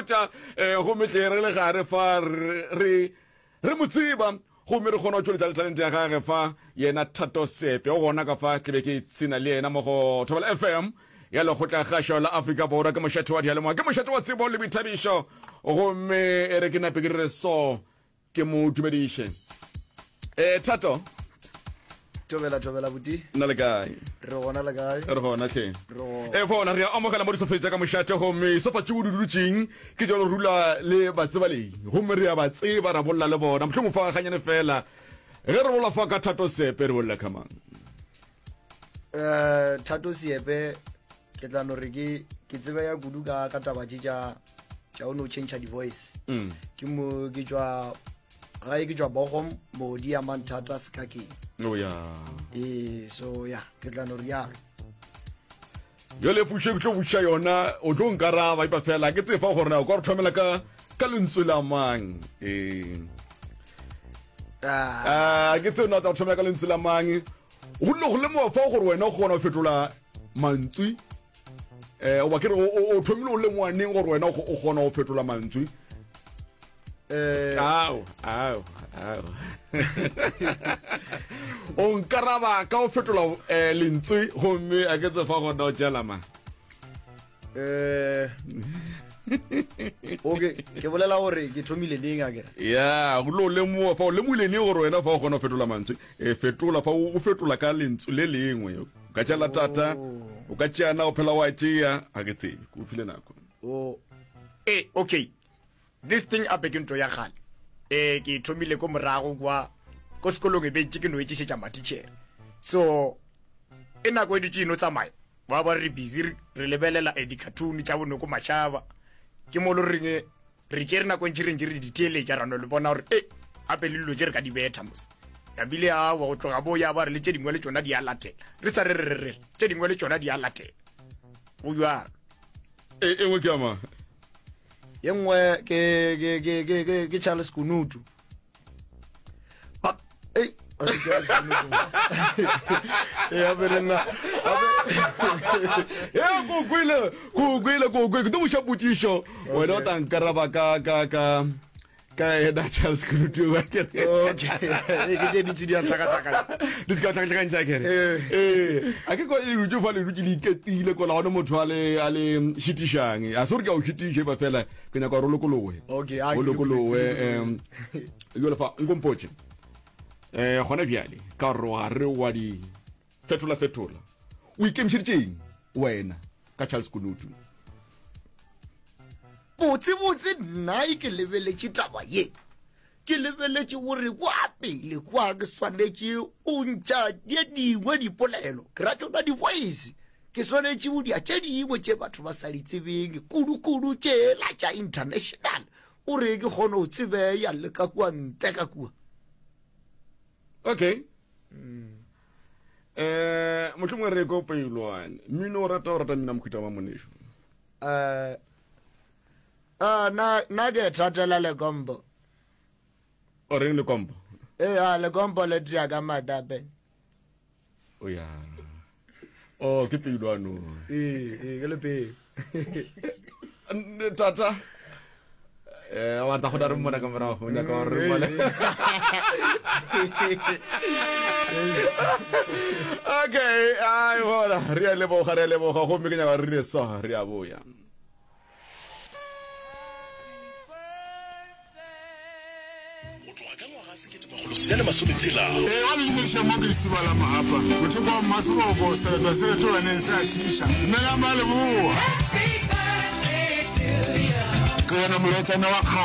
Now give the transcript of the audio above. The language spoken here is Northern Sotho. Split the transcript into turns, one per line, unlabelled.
botša um gomme tle re le gare fa re re mo tseba gomme re kgona go tšweletša le talente ya gage fa yena Thato Sepe o gona ka fa ke be ke ipshina le yena mo go Thobela FM ya lekgotlakgašo la Afrika Borwa ke mošate wa diyalemoya ke mošate wa tsebo le boithabišo gomme e re ke nape ke re so ke mo dumediše eh Thato
Thobela thobela buti.
Nna le kae?
Re gona le kae?
Re gona hle. E bona re a amogela mo disofeng tša ka mošate gomme sofa tše o di dutšeng ke tša go rula le batsebalei gomme re a ba tseba ra bolla le bona mohlomong fa ganyane fela ge re bolla fa ka Thato Seepe re bolla ka mang?
Eh Thato Seepe ke tla no re ke ke tsebe ya kudu ka ka taba tše tša tša o no change di voice. Mm. Ke mo ke tšwa gae ke tšwa Bochum mo di amang thata sekakeng.
Oh yeah.
Eh so yeah ke tla no rialo.
Jale pušo ke tlo buša yona o tlo nkaraba ipa fela ke tsefa gore na o ka re thomela ka ka lentswe la mang eh ah ke tseo na tla thomela ka lentswe la mang go nne go lemoga fa gore wena o kgona go fetola mantswe eh oba ke re o thomile o lemoga neng gore wena o kgona go fetola mantswe
Eh,
ao ao ao o nkaraba ka o fetola eh, lentswe gomme a ke tsefa gona o tšela ma
eh okay ke bolela gore ke thomile neng a kere
ya go lo lemoga fa o lemogile neng gore wena fa o kgona go fetola mantswe e fetola fa o fetola ka lentswe le lengwe o ka tšela tata o ka tšeana o phela wa tšea ga ke tsebe ke o file nako
o
e okay This thing ape ke nto ya kgale. Eh ke e thomile ko morago kwa ko sekolong e be ntše ke no etšišetša matitšhere. So e nako e dutše e no tsamaya ba ba re busy re lebelela eh, di-cartoon tša bonoko mašaba ke mo lo reng eh, re tšere nako e ntši re ntše re di theeletša ra no le bona gore e gape le dilo tše re ka di betha mos nabile awa go tloga bo ya ba re le tše dingwe le tšona di a latela re sa re re re re tše dingwe le tšona di a latela go jalo
E e nngwe ke ya mang?
Ye nngwe ke ke ke ke ke ke Charles Kunutu. Ba ei a se Charles Kunutu. Ya be le nna.
Ya ko kwele, ko kwele, ko kwele. Ke tlo buša potšišo. Wena o tla nkaraba ka ka ka ka ena Charles Kunutu wa kere.
Okay. Ee, ke tše dintsi di a tlhakatlhakana.
Di se ka tlhakatlhakantša kere.
Ee.
Ee. A ke kwa e dutše fa le dutše le iketile kola gone motho a le a le šitišang. A se gore ke a o šitiša ba fela ke nyaka gore o lokologe.
Okay, a
O
ke
lokologe em jwale fa nkompotše. Eh gona bjale ka gore wa re wa di fetola fetola. O ikemišeditše eng wena ka Charles Kunutu?
Botsebotse nna e ke lebeletše taba ye, ke lebeletše gore kwa pele kwa ke swanetše go ntša tše dingwe dipolelo, ke ra tšona di-voice, ke swanetše go dia tše dingwe tše batho ba sa di tsebeng, kudu-kudu tšela tša international, gore ke kgone go tsebeya le ka kua ntle ka kua.
Okay. Eh, mohlomongwe re ko peilwane. Mmino o rata o rata mmino wa mohuta wa monešu.
Eh, ah, na na ke thatela lekompo.
O reng lekompo?
Eh, ah, lekompo le tšea ka matape.
O ya. Oh, ke peilwano.
Ee, ee, ke le pele.
Tata. Eh, wa tla go re mmona ka morago, o nyaka gore re mmone. Okay, ai bona, re a leboga, re a leboga, gomme ke nyaka gore re dire so, re a boya.
Go tloga ka ngwaga 1660.
Ee, ba le dumediša mo ke lesiba la Mahapa, mothoko wa Mmaseboko, seretwa se retolaneng se a šiiša. Dumelang ba Leboa. Ke wena molaetšana wa kgale.